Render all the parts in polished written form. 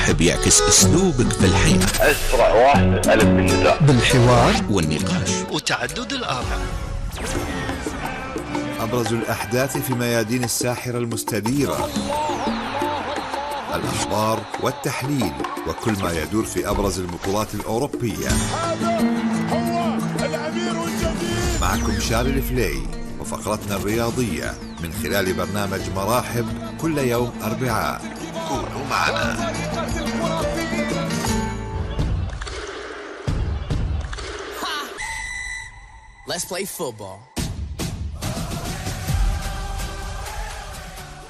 مراحب يعكس أسلوبك في الحياة. أسرع واحد ألف بالنداء، بالحوار والنقاش وتعدد الآراء. أبرز الأحداث في ميادين الساحرة المستديرة، الأخبار والتحليل وكل ما يدور في أبرز البطولات الأوروبية. هو الأمير الجديد. معكم شارل الفلي وفقرتنا الرياضية من خلال برنامج مراحب كل يوم أربعاء. كونوا معنا. Let's play football.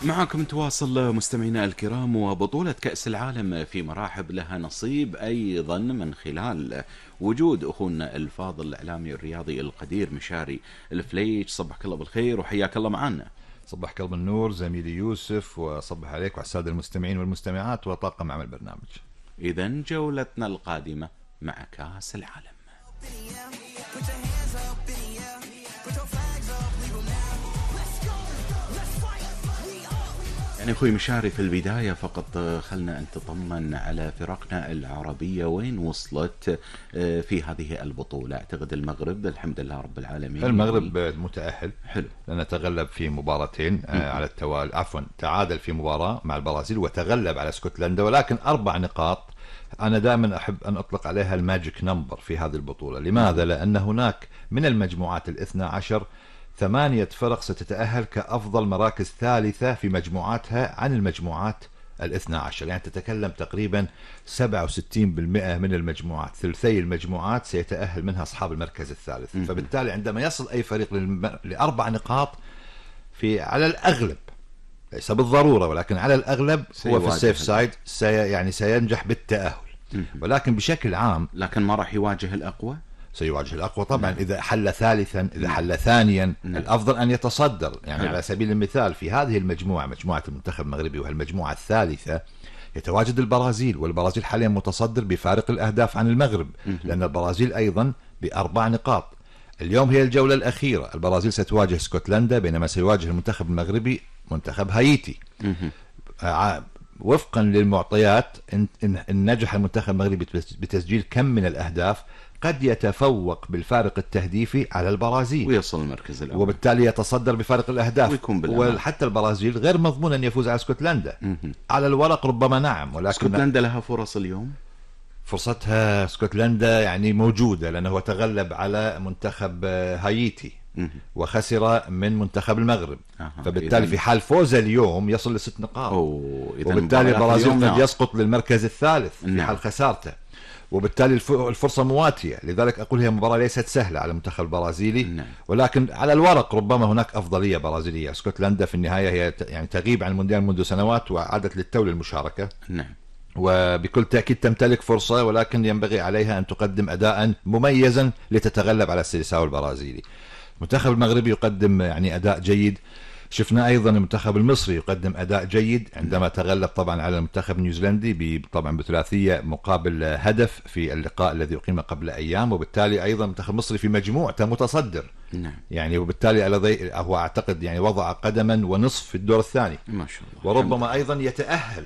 معكم تواصل مستمعينا الكرام، وبطولة كأس العالم في مراحب لها نصيب أيضا من خلال وجود أخونا الفاضل الإعلامي الرياضي القدير مشاري الفليج. صبحك الله بالخير وحياك الله معنا. صبحك الله بالنور زميلي يوسف، وصبح عليك وعلى السادة المستمعين والمستمعات وطاقم عمل البرنامج. إذن جولتنا القادمة مع كأس العالم. يعني أخوي مشاري، في البداية فقط خلنا أن تطمن على فرقنا العربية وين وصلت في هذه البطولة. أعتقد المغرب الحمد لله رب العالمين، المغرب متأهل، حلو، لأنه تغلب في مباراتين على التوالي، عفوا تعادل في مباراة مع البرازيل وتغلب على اسكتلندا، ولكن 4 نقاط. أنا دائما أحب أن أطلق عليها الماجيك نمبر في هذه البطولة. لماذا؟ لأن هناك من المجموعات 12 8 فرق ستتأهل كأفضل مراكز ثالثة في مجموعاتها عن المجموعات 12. يعني تتكلم تقريبا 67% من المجموعات، ثلثي المجموعات سيتأهل منها أصحاب المركز الثالث. فبالتالي عندما يصل أي فريق ل4 نقاط في على الأغلب، ليس بالضرورة ولكن على الأغلب هو في السيف سايد، يعني سينجح بالتأهل. ولكن بشكل عام لكن ما راح يواجه الأقوى، سيواجه الأقوى طبعا. إذا حل ثالثا، إذا حل ثانيا، الأفضل أن يتصدر. يعني على سبيل المثال في هذه المجموعة، مجموعة المنتخب المغربي وهالمجموعة الثالثة، يتواجد البرازيل، والبرازيل حاليا متصدر بفارق الأهداف عن المغرب، لأن البرازيل أيضا ب4 نقاط. اليوم هي الجولة الأخيرة، البرازيل ستواجه اسكتلندا، بينما سيواجه المنتخب المغربي منتخب هايتي. وفقا للمعطيات، إن نجح المنتخب المغربي بتسجيل كم من الأهداف، قد يتفوق بالفارق التهديفي على البرازيل ويصل المركز الأول، وبالتالي يتصدر بفارق الأهداف. وحتى البرازيل غير مضمون أن يفوز على اسكتلندا. على الورق ربما نعم، ولكن اسكتلندا لها فرص اليوم. فرصتها اسكتلندا يعني موجودة، لأنه تغلب على منتخب هايتي وخسر من منتخب المغرب. فبالتالي في حال فوز اليوم يصل ل6 نقاط، وبالتالي البرازيل قد يسقط للمركز الثالث في حال خسارته، وبالتالي الفرصة مواتية. لذلك أقول هي مباراة ليست سهلة على المنتخب البرازيلي، ولكن على الورق ربما هناك أفضلية برازيلية. اسكتلندا في النهاية هي يعني تغيب عن المونديال منذ سنوات وعادت للتو للمشاركة، وبكل تأكيد تمتلك فرصة، ولكن ينبغي عليها أن تقدم أداء مميزا لتتغلب على السيلساو البرازيلي. المنتخب المغربي يقدم يعني أداء جيد. شفنا أيضا المنتخب المصري يقدم أداء جيد عندما تغلب طبعا على المنتخب النيوزيلندي طبعا بثلاثية مقابل هدف في اللقاء الذي أقيم قبل أيام. وبالتالي أيضا المنتخب المصري في مجموعته متصدر، يعني وبالتالي هو أعتقد يعني وضع قدما ونصف في الدور الثاني ما شاء الله، وربما أيضا يتأهل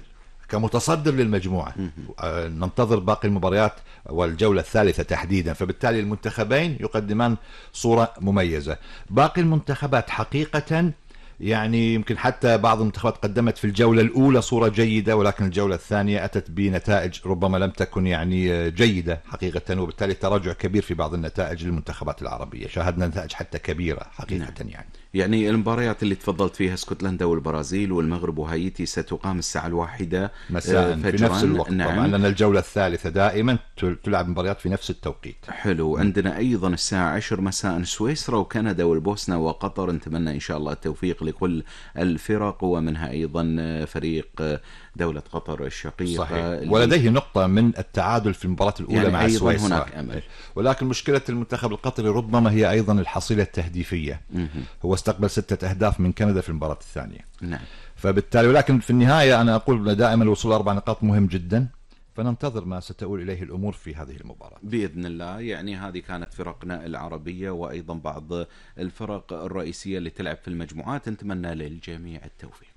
كمتصدر للمجموعة. ننتظر باقي المباريات والجولة الثالثة تحديدا. فبالتالي المنتخبين يقدمان صورة مميزة. باقي المنتخبات حقيقة يعني يمكن حتى بعض المنتخبات قدمت في الجولة الأولى صورة جيدة، ولكن الجولة الثانية أتت بنتائج ربما لم تكن يعني جيدة حقيقة، وبالتالي تراجع كبير في بعض النتائج للمنتخبات العربية. شاهدنا نتائج حتى كبيرة حقيقة. يعني المباريات اللي تفضلت فيها اسكتلندا والبرازيل والمغرب وهايتي ستقام الساعة 1 مساء في نفس الوقت. طبعا لأن الجولة الثالثة دائما تلعب مباريات في نفس التوقيت. حلو. عندنا أيضا الساعة 10 مساء سويسرا وكندا والبوسنة وقطر. نتمنى إن شاء الله التوفيق لكل الفرق، ومنها أيضا فريق دولة قطر الشقيقة. صحيح. ولديه نقطة من التعادل في المباراة الأولى يعني مع سويسرا. هناك أمل. ولكن مشكلة المنتخب القطري ربما هي أيضا الحصيلة التهديفية. هو استقبل 6 أهداف من كندا في المباراة الثانية. فبالتالي ولكن في النهاية أنا أقول دائما الوصول 4 نقاط مهم جدا، فننتظر ما ستؤول إليه الأمور في هذه المباراة بإذن الله. يعني هذه كانت فرقنا العربية وأيضا بعض الفرق الرئيسية اللي تلعب في المجموعات. نتمنى للجميع التوفيق.